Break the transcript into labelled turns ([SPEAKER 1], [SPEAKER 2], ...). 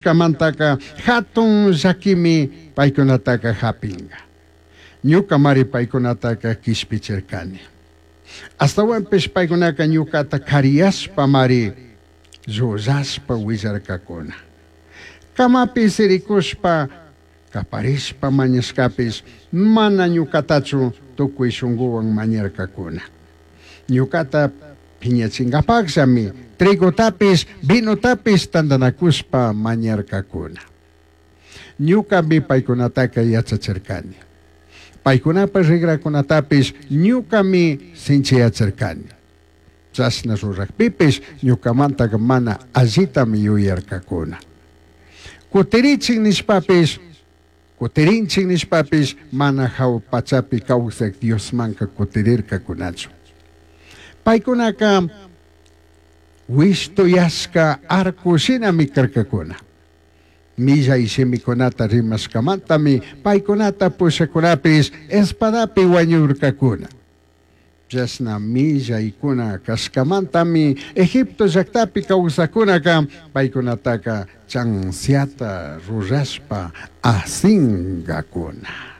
[SPEAKER 1] rurashcamantaca jatun llaquimi paicunataca japinga. Ñucamari paicunataca quishpichircani. Ashtahuanpish paicunaca ñucata cariyashpamari llullashpa huillarcacuna. Camapi siricushpa caparishpa mañashcapish mana ñucatachu tucui shunguhuan mañarcacuna. Ñucata piñachingapajllami trigotapish vinotapish tandanacushpa mañarcacuna. Ñucami paicunataca yachachircani. Paicunapaj rigracunatapish ñucami sinchiyachircani. Chashna rurajpipish ñucamantaca mana allitami yuyarcacuna. Cutirichij nishpapish, cutirinchij nishpapish mana jahua pachapi causaj Diosmanca cutirircacunachu. Paicunaca huishtuyashca arco shinami carcacuna. Millai shimicunata rimashcamantami paicunata pushacunapish espadapi huañurcacuna. Chashna millaicuna cashcamantami Egipto llajtapi causajcunaca paicunataca chanziata rurashpa asingacuna.